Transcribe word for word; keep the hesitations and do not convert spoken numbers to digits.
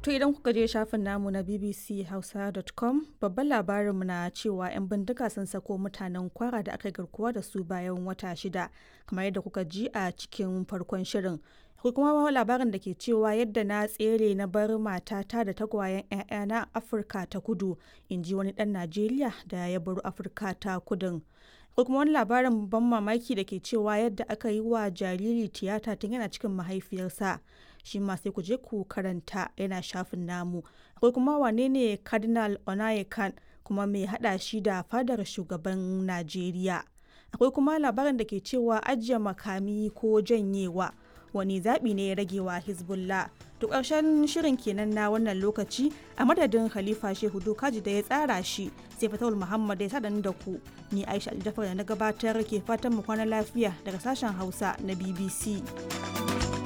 To idan kuka je shafin namu na B B C Hausa dot com, babban labarinmu na cewa 'yan bindiga sun sako mutanen Kwara da aka garkuwa da su bayan wata shida, kamar yadda kuka ji a cikin farkon shirin. Akwai kuma labarin da ke cewa yadda na tsere na bar matata da tagwayen 'ya'yana a Afirka ta Kudu, in ji wani ɗan Najeriya da ya baro Afirka ta Kudun. Akwai kuma wani labarin ban mamaki da ke cewa yadda aka yi wa jariri tiyata tun yana cikin mahaifiyarsa. Shi ma sai ku je ku karanta, yana shafin namu. Akwai kuma wane ne Cardinal Onayekan, kuma mai hada shi da fadar shugaban Najeriya? Akwai kuma labarin da ke cewa ajiye makami ko janyewa, wani zaɓi ne ya rage wa Hezbollah? To, ƙarshen shirin kenan na wannan lokaci. A madadin Khalifa Shehu Dokaji da ya tsara shi, sai Fatawul Muhammad da ya sadan da ku, ni Aisha Aljafar da na gabatar ke fatan mu kwana lafiya daga sashen Hausa na B B C.